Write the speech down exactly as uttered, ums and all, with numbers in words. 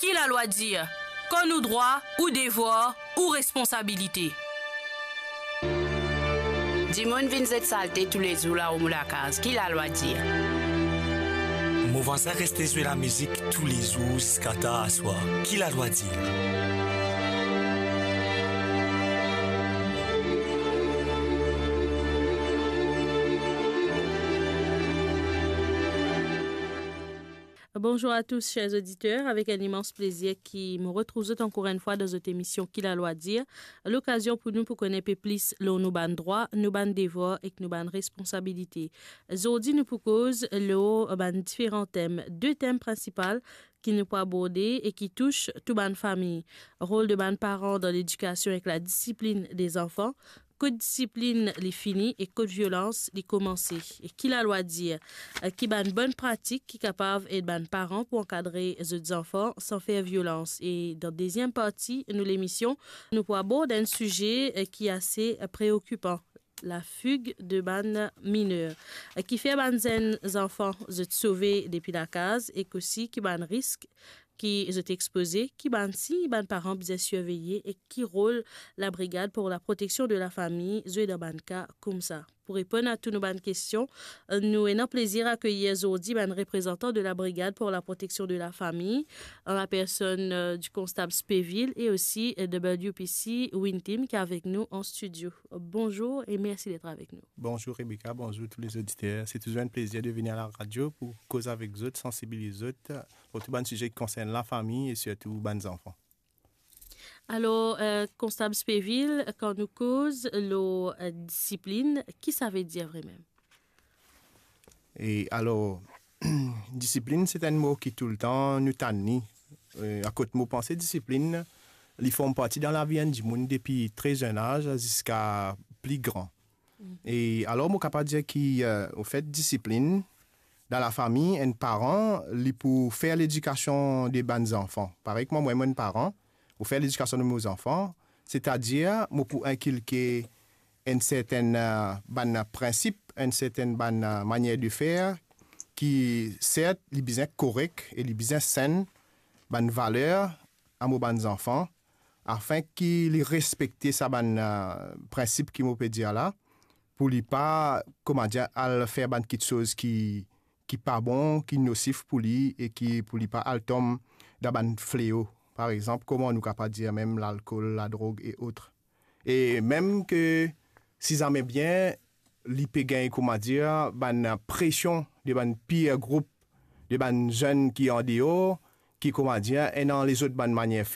Ki lalwa dir? Kan nou drwa, ou devwar, ou responsabilite. Dimoun vinn zet salte toulezour laor mo lakaz, ki lalwa dir? Mo vwazin reste zwe lamizik toulezour ziska tar aswar, ki lalwa dir? Bonjour à tous, chers auditeurs. Avec un immense plaisir ki mo retrouv zot ankor enn fwa dan zot emision Ki Lalwa Dir, lokazion pou nou pou konn enpe plis lor nou bann drwa, nou bann devwar ek nou bann responsabilite. Zordi nou pou koz lor bann diferan tem, de tem prinsipal ki nou pou aborde e ki tous tou bann fami. Rol de bann paran dan ledikasion ek ladisiplin de zanfan, kot disiplin li fini e kot violans li koumanse. E ki lalwa dir? Ki bann bonn pratik ki kapav ed bann paran pou ankadre zot zanfan san fer violans? E dan deziem parti nou lemision, nou pou abord enn size, eh, ki ase preokipan, lafig de bann miner. Eh, kifer bann zenn zanfan zot sove depi lakaz ek osi ki bann risk ki zot expoze, ki bann sign bann paran bizin sirveye e ki rol Labrigad pour la Protection de la Famille zwe dan bann ka koumsa? Pou reponn a tou nou bann kestion, nou ena plezir akeyir zordi bann reprezantan de Labrigad pour la Protection de la Famille, an la personn, euh, du konstab Speville e osi, euh, W P C Wintim ki avek nou an stidio. Bonjour et merci d'être avec nous. Bonjour Rebecca, bonjour tous les auditeurs. C'est toujours un plaisir de venir à la radio pour koz avek zot, sansibiliz zot, pour tou bann size ki konsern lafami e sirtou bann zanfan. Alor, euh, konstab Speville, kan nou koz lor, euh, disiplin, ki sa ve dir vremem? E alor, disiplin, se enn mo ki toultan nou tann li. Euh, akoz mo panse disiplin, li form parti dan lavi enn dimoun depi tre zenn az ziska pli gran. E alor, mo kapav dir ki, euh, anfet, disiplin, dan lafami, enn paran, li pou fer ledikasion de bann zanfan. Parey kouma mwa, mo enn paran, mo fer ledikasion de mo zanfan, setadir, mo pou inkilke enn sertenn, euh, bann prinsip, enn sertenn bann, euh, manier de fer, ki, sert, li bizin korek e li bizin senn, bann valer, a mo bann zanfan, afin ki li respekte sa bann, euh, prinsip ki mo pe dir la, pou li pa, kouma dir, al fer bann kitsoz ki, ki pa bon, ki nosif pou li e ki pou li pa al tom dan bann fleo. Par exanp, kouma nou kapav dir mem lalkol, ladrog e ot. E mem ke si zame bien li pe gagn, kouma dir, bann presion de bann peer group, de bann zenn ki andeor, ki, kouma dir, ena lezot bann manier